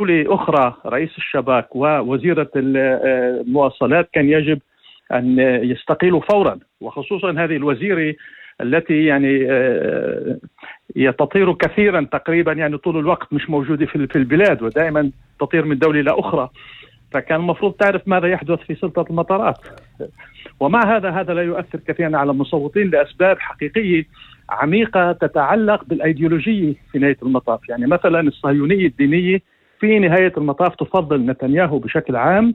أخرى رئيس الشباك ووزيرة المواصلات كان يجب أن يستقيلوا فورا، وخصوصا هذه الوزيرة التي تطير كثيرا تقريبا، طول الوقت مش موجودة في البلاد، ودائما تطير من دولة إلى أخرى، فكان المفروض تعرف ماذا يحدث في سلطة المطارات. ومع هذا لا يؤثر كثيرا على المصوتين لأسباب حقيقية عميقة تتعلق بالأيديولوجية في نهاية المطاف. مثلا الصهيونية الدينية في نهاية المطاف تفضل نتنياهو بشكل عام،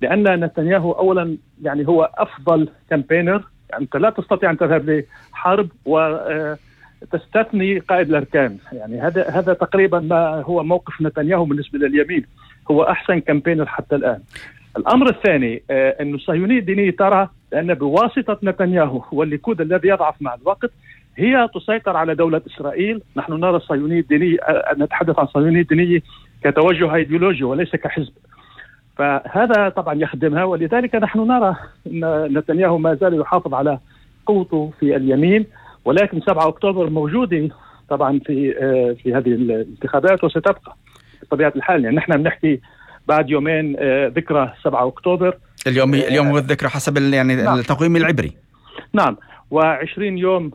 لأن نتنياهو أولا هو أفضل كامبينر. أنت لا تستطيع أن تذهب لحرب وتستثني قائد الأركان، هذا تقريبا ما هو موقف نتنياهو بالنسبة لليمين، هو أحسن كامبينر حتى الآن. الأمر الثاني أن الصهيونية الدينية ترى أن بواسطة نتنياهو والليكود الذي يضعف مع الوقت هي تسيطر على دولة إسرائيل. نحن نرى الصهيونية الدينية، نتحدث عن الصهيونية الدينية كتوجه أيديولوجي وليس كحزب، فهذا طبعا يخدمها. ولذلك نحن نرى أن نتنياهو ما زال يحافظ على قوته في اليمين، ولكن 7 أكتوبر موجودة طبعا في هذه الانتخابات وستبقى بطبيعة الحال. نحن بنحكي بعد يومين ذكرى 7 أكتوبر، اليوم هو الذكرى حسب نعم. التقويم العبري. نعم، و20 يوم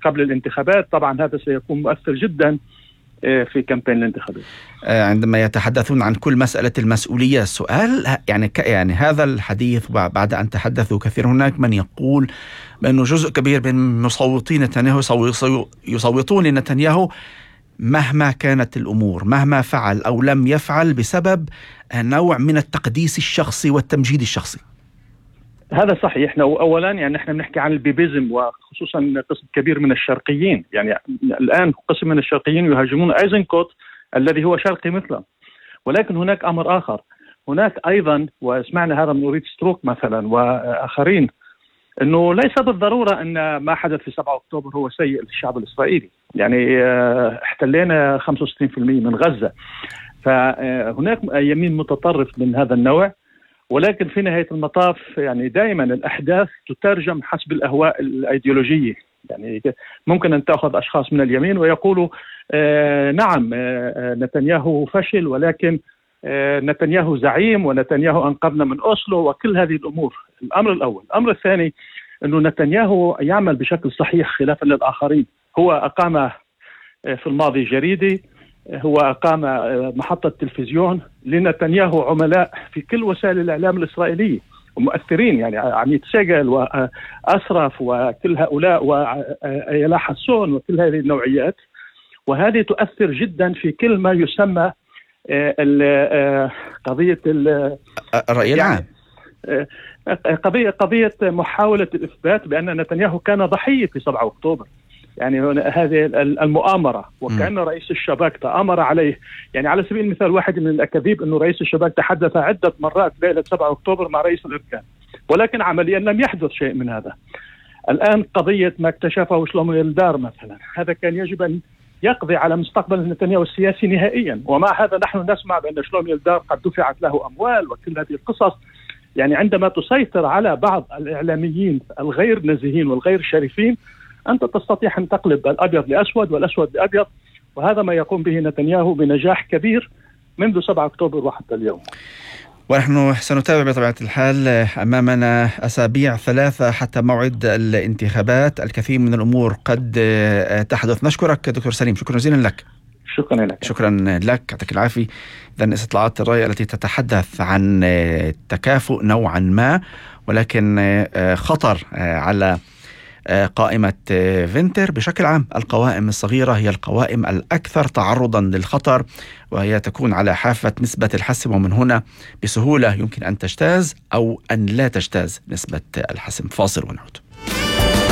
قبل الانتخابات. طبعا هذا سيكون مؤثر جدا في كامبين الانتخابات. عندما يتحدثون عن كل مسألة المسؤولية، السؤال هذا الحديث بعد أن تحدثوا كثير، هناك من يقول بأنه جزء كبير من مصوتي نتنياهو يصوتون لنتنياهو مهما كانت الأمور، مهما فعل أو لم يفعل، بسبب نوع من التقديس الشخصي والتمجيد الشخصي. هذا صحيح. أولا نحن بنحكي عن البيبيزم، وخصوصا قسم كبير من الشرقيين. الآن قسم من الشرقيين يهاجمون أيزنكوت الذي هو شرقي مثله. ولكن هناك أمر آخر، هناك أيضا، وسمعنا هذا من أوريت ستروك مثلا وآخرين، أنه ليس بالضرورة أن ما حدث في 7 أكتوبر هو سيء للشعب الإسرائيلي. احتلينا 65% من غزة، فهناك يمين متطرف من هذا النوع. ولكن في نهاية المطاف دائما الأحداث تترجم حسب الأهواء الأيديولوجية. ممكن أن تأخذ أشخاص من اليمين ويقولوا نعم نتنياهو فشل، ولكن نتنياهو زعيم، ونتنياهو أنقذنا من أوسلو، وكل هذه الأمور. الأمر الأول. الأمر الثاني أنه نتنياهو يعمل بشكل صحيح خلافا للآخرين. هو أقام في الماضي جريدة، هو أقام محطة تلفزيون. لنتنياهو عملاء في كل وسائل الإعلام الإسرائيلية ومؤثرين، عميد سيجل وأسرف وكل هؤلاء وأيلا حسون وكل هذه النوعيات، وهذه تؤثر جدا في كل ما يسمى قضية الرأي العام، قضية محاولة الإثبات بأن نتنياهو كان ضحية في 7 أكتوبر. هذه المؤامرة، وكأن رئيس الشباك تآمر عليه. على سبيل المثال، واحد من الأكاذيب أنه رئيس الشباك تحدث عدة مرات ليلة 7 أكتوبر مع رئيس الأركان، ولكن عمليا لم يحدث شيء من هذا. الآن قضية ما اكتشفه شلومو يلدار مثلا، هذا كان يجب أن يقضي على مستقبل نتنياهو السياسي نهائيا. ومع هذا نحن نسمع بأن شلومو يلدار قد دفعت له أموال وكل هذه القصص. عندما تسيطر على بعض الإعلاميين الغير نزيهين والغير شريفين، أنت تستطيع أن تقلب الأبيض لأسود والأسود لأبيض، وهذا ما يقوم به نتنياهو بنجاح كبير منذ 7 أكتوبر وحتى اليوم. ونحن سنتابع بطبيعة الحال. أمامنا أسابيع 3 حتى موعد الانتخابات، الكثير من الأمور قد تحدث. نشكرك دكتور سليم، شكرا جزيلا لك. شكرا لك. شكرا لك، يعطيك العافية. إذن استطلاعات الرأي التي تتحدث عن تكافؤ نوعا ما، ولكن خطر على قائمة فينتر. بشكل عام القوائم الصغيرة هي القوائم الأكثر تعرضا للخطر، وهي تكون على حافة نسبة الحسم، ومن هنا بسهولة يمكن أن تجتاز أو أن لا تجتاز نسبة الحسم. فاصل ونعود.